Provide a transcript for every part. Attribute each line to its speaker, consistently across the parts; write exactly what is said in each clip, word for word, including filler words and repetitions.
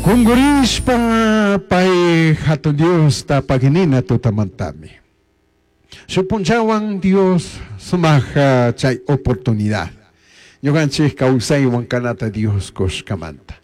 Speaker 1: Kungurishpa pay hatun Diosta paginina tutamantami. Shupunchawan Dios sumaq chay oportunidad. Ñuqanchik kawsaywan kanata Dios kushkamanta.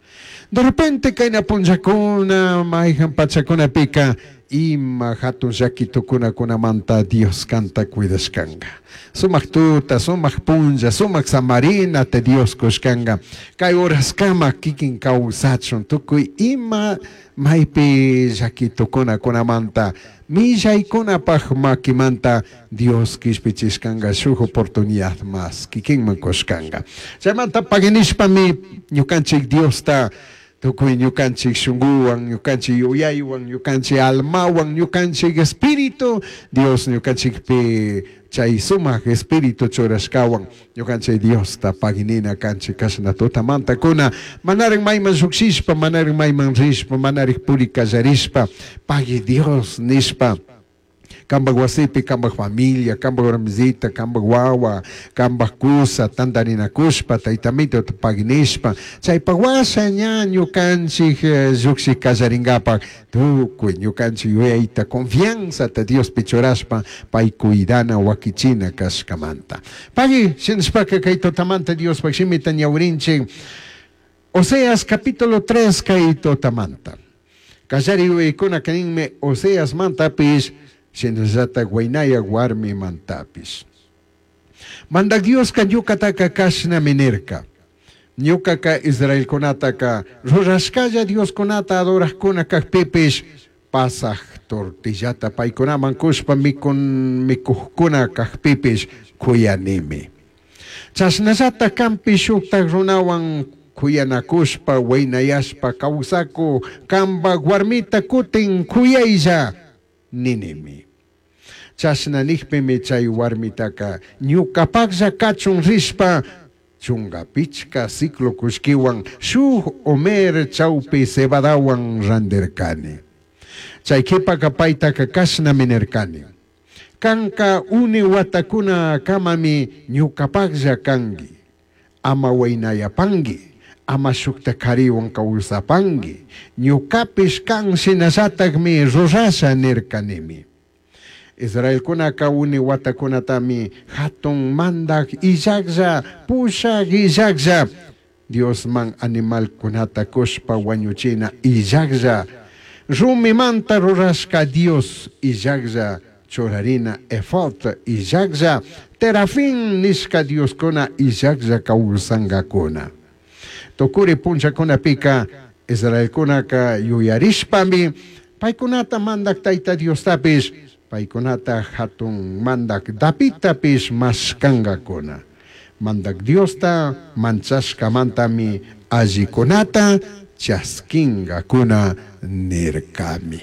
Speaker 1: De repente kayna punllakuna mayhan pachakunapika ima hatun llakitukunakunamanta Dios kanta cuidashkanka. Sumaq tuta, sumaq punlla, sumaq samarinata Dios kushkanka. Kay horaskama kikin kawsachun tukuy ima maypi llakitukunakunamanta millaykunapaj makimanta Dios kishpichishkanka shuk oportunidad mas kikinman kushkanka. Chaymanta paginishpami ñukanchik Diosta tukuy ñukanchik shunguwan, ñukanchik yuyaywan, ñukanchik almawan, ñukanchik espíritu, Dios ñukanchikpi chay sumaq espíritu churashkawan, ñukanchik Diosta paginina kanchik kashna tutamanta kuna, manarik mayman llukshishpa, manarik mayman rishpa, manarik puri kallarishpa, pagui Dios nishpa, kambak wasipi, kambak familia, kambak warmisita, kambak wawa, kambak kusa, tantarinakushpa, taytamito paginishpa, chaypak washa ña ñukanchik llukshik kallarinkapak, tukuy ñukanchik yuyayta confianzata Diospi churashpa, pay cuidana wakichina kashkamanta. Pagui, shinashpaka kay tutamanta Diospak shimita ñawrinchik, Oseas capítulo tres kay tutamanta. Kallari yuyaykuna kaninmi Oseas mantapish, shinallata waynaya warmi mantapish. Mandak Dioska ñukataka kashnami nirka. Ñukaka Israelkunataka rurashkalla Dioskunata adorajkuna kajpipish pasaj tortillata paykunaman kushpa mikun mikujkuna kajpipish kuyanimi. Chashnallata kampi shuktak runawan kuyanakushpa waynayashpa kawsaku kambak warmita kutin kuyaylla ninimi. Chashna nijpimi chay warmitaka ñukapaklla kachun rishpa chunka pichka ciclo kullkiwan shuk homer chawpi cebadawan randirkani. Chay kipaka paytaka kashnami nirkani. Kanka uni watakuna kamami ñukapaklla kanki, ama waynayapanki, ama shukta kariwan kawsapanki, ñukapish kan shinallatakmi rurasha nirkanimi. Israelkunaka uni watakunatami hatun mandak illaklla, pushak illaklla, Diosman animalkunata kushpa wañuchina illaklla, rumimanta rurashka Dios illaklla, churarina efod illaklla, terafín nishka Dioskuna illaklla kawsankakuna. Tukuri punllakunapika Israelkunaka yuyarishpami paykunata mandak Tayta Diostapish, paykunata hatun mandak Davidtapish mashkankakuna. Mandak Diosta manchashkamantami allikunata chaskinkakuna nirkami.